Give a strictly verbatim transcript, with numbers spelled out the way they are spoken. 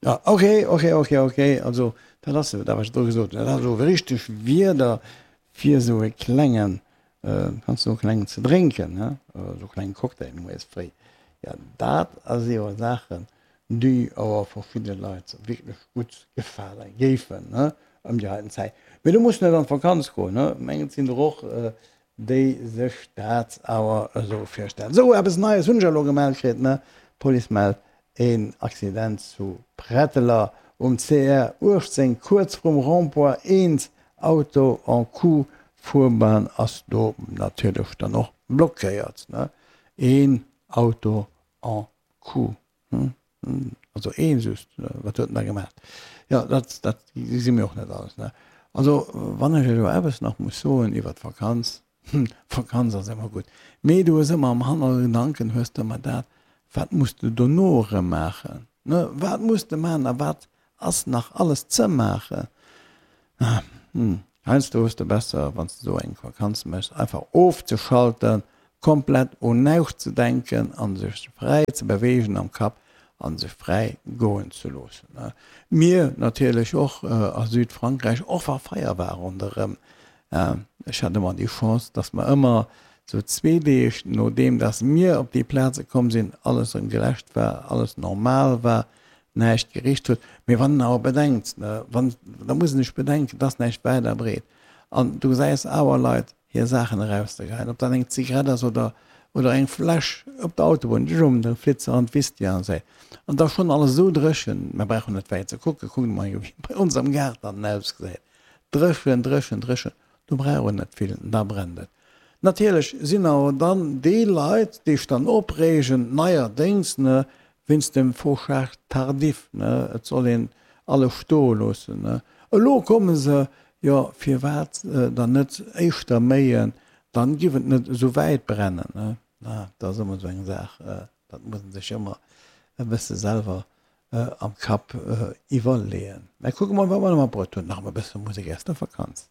Ja, ok, ok, ok, ok, also dat ass dat wat ech do gesot hunn, dat ass elo richteg Wieder fir esou e klengen, kanns du e klengen ze drénken, he, esou e klengen Cocktail moies fréi. Ja, dat ass jo Saachen, déi awer verschidde Leit wierklech gutt gefale géifen, he, ëm déi heiten Zäit. Mee du muss net an d'Vakanz goen, he, mengen et sinn der och, déi sech dat awer esou virstellen. Esou, eppes Neies hunn ech elo gemellt kritt, ne, d'Police mellt Een Accident zu Pretteler um C R uechtzéng kuerz vrum Rond-point eent Auto en coup, Fuerbahn ass do natierlech dann och blockéiert. Een Auto en coup, also ee just, wat huet en da gemaach? Jo, dat dat gesi mir och net alles. Also wann ech elo eppes nach muss soen iwwer d'Vakanz, Vakanz ass ëmmer gutt, mee du hues ëmmer am Hannergedanken hues de ëmmer dat, Wat muss de dono erëm maachen? Ne, wat muss de maachen a wat ass nach alles ze maachen? Heiansdo hues de besser, wann s de esou eng Vakanz méchs, einfach ofzeschalten, komplett un näischt ze denken a sech fräi ze beweegen am Kapp a sech fräi goen ze loossen. Mir natierlech och a Südfrankräich, och wa Feier war ronderëm. Ech hat ëmmer déi Chance, dass mer ëmmer sou zwee Deeg nodeem dass mir op déi Plaze komm sinn, alles erëm geläscht war, alles normal war, näischt gericht huet. Mee wann en awer bedenkt, wann, da muss en sech bedenken, dass näischt wäit a breet an du gesäis awer Leit hir Saachen erauszegeheien, ob dat eng Zigarett ass oder, oder eng Fläsch op der Autobunn, jum, da flitt se an d'Wiss déi aner Säit. An da schonn alles esou dréchen, mer brauchen net wäit ze kucken, kuckt emol wéi bei ons am Gaart dann ausgesäit, dréchen, dréchen, dréchen, do brauch en net vill, da brennt et. Natierlech sinn awer dann déi Leit, déi sech dann opreegen, neierdéngs, ne, wéinst dem Fauchage tardif, ne, et soll een alles stoe loossen, ne, elo komme se, jo, firwat dann net éischter méien, dann giff et net esou wäit brennen, ne. Na, dat ass ëmmer esou eng Saach, dat muss ee sech ëmmer e bësse selwer am Kapp iwwerleeën. Mä kucke mol, wat mer nach matbruet hunn, nach e bësse Musek aus der Vakanz.